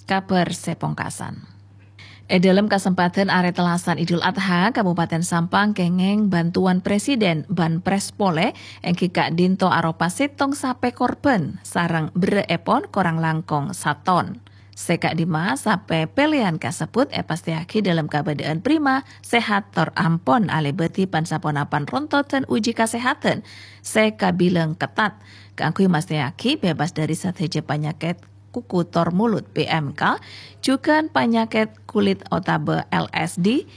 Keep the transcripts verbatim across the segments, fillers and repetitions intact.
Kabhâr sè pongkasan. È dhâlem kasempadhân Arè Tellasan Idul Adha, Kabupaten Sampang kèngèng bhântowan Presiden Banpres polè, èngghi ka'dinto aropa sèttong sapè korban sareng berrâ'èpon korang langkong saton. Sè ka'dimma sapè pèlèyan kasebbhut èpastèyaghi dhâlem kabâdâ'ân prima, sehat tor ampon alèbâdhi pan-saponapan rontodan uji kasèhadhân sè kabilang ketat kaangghuy mastèyaghi bebas dhâri sadhâjâ panyakèt kuku tor mulut P M K, jhughân panyakèt kulit otabâ L S D.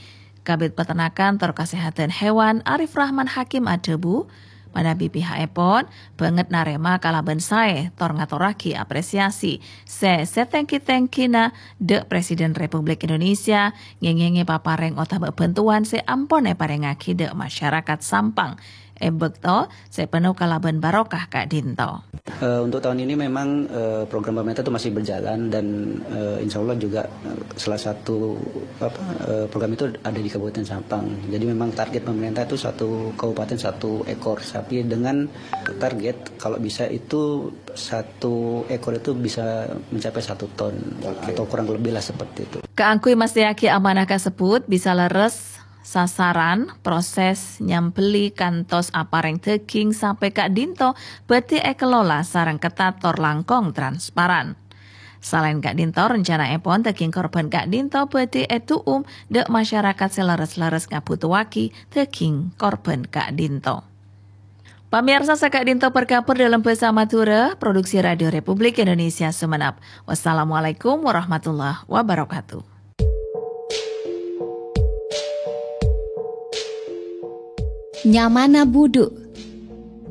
Kabid Peternakan tor Kasèhadhân Hewan Arif Rahman Hakim adhâbu, manabi pihakèpon bângèt narèma kalabân saè tor ngatorraghi apresiasi sè satènggi-tèngghina dhâ' Presiden Republik Indonesia ngèngèngè paparèng otabâ bhântowan sè ampon èparèngaghi dhâ' masyarakat Sampang è bâkto sè penuh kalabân barokah ka'dinto. Eh, untuk tahun ini memang, eh, program pemerintah itu masih berjalan dan, eh, insya Allah juga, eh, salah satu, apa, eh, program itu ada di Kabupaten Sampang. Jadi memang target pemerintah itu satu kabupaten satu ekor sapi dengan target kalau bisa itu satu ekor itu bisa mencapai satu ton. Oke. Atau kurang lebih lah seperti itu. Kaangghuy mastèyaghi amanah kasebbhut bisa lerres sasaran, proses nyambelli kantos aparèng dhâghing sampè ka'dinto bhâdhi èkelola sareng ketat tor langkong transparan. Salaèn ka'dinto, rencanaèpon dhâghing korban ka'dinto bhâdhi èdu'um dhâ' masyarakat sè lerres-lerres ngabhutoaghi dhâghing korban ka'dinto. Pamèyarsa, saka'dinto parkabhâr dhâlem bhâsa Madhurâ, produksi Radio Republik Indonesia Sumenep. Wassalamualaikum warahmatullahi wabarakatuh. Nyamana budhu,